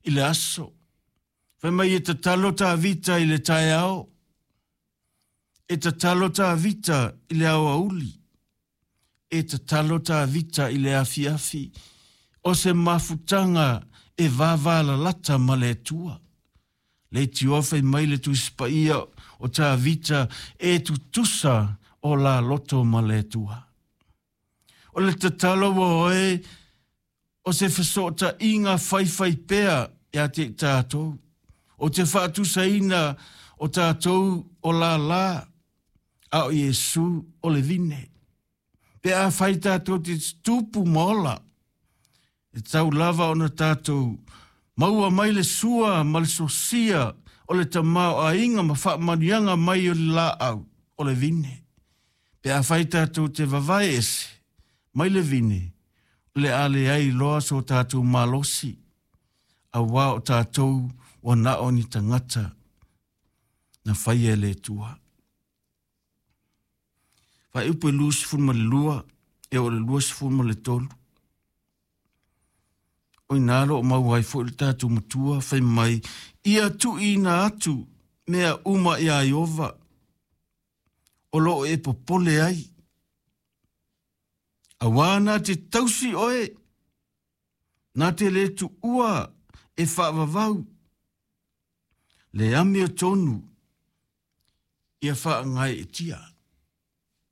i le aso. Fai mai e tatalo Tavita i le taeao, e tatalo Tavita i le aoauli, e tatalo Tavita i le afiafi, o se mafutaga e vavalalata ma le Atua. Leitioa fai mai le Tusi Paia o Tavita e tutusa o la loto ma le Atua. O le tatalo ua oe o se fesootaiga faifaipea ia te i tatou, o te faatusaina o tatou o lālā, a o Iesu o le vine. Pe afai tatou te tupu ma ola, e tatau lava ona tatou maua mai le sua ma le sosia o le tamaoaiga ma faamanuiaga mai o le laau o le vine. Pe afai tatou te vavae ese mai le vine, o le a leai loa so tatou malosi, auā o tatou ua na o ni tagata na faia e le Atua. Faaiupu e 22 e oo i le 23. O ina lo o maua ai foi le tatou matua fai mai, ia tuuina atu mea uma iā Ieova o lo o e popole ai. Auā na te tausi oe, na te le tuua e faavavau, le amiotonu ia faagaeetia.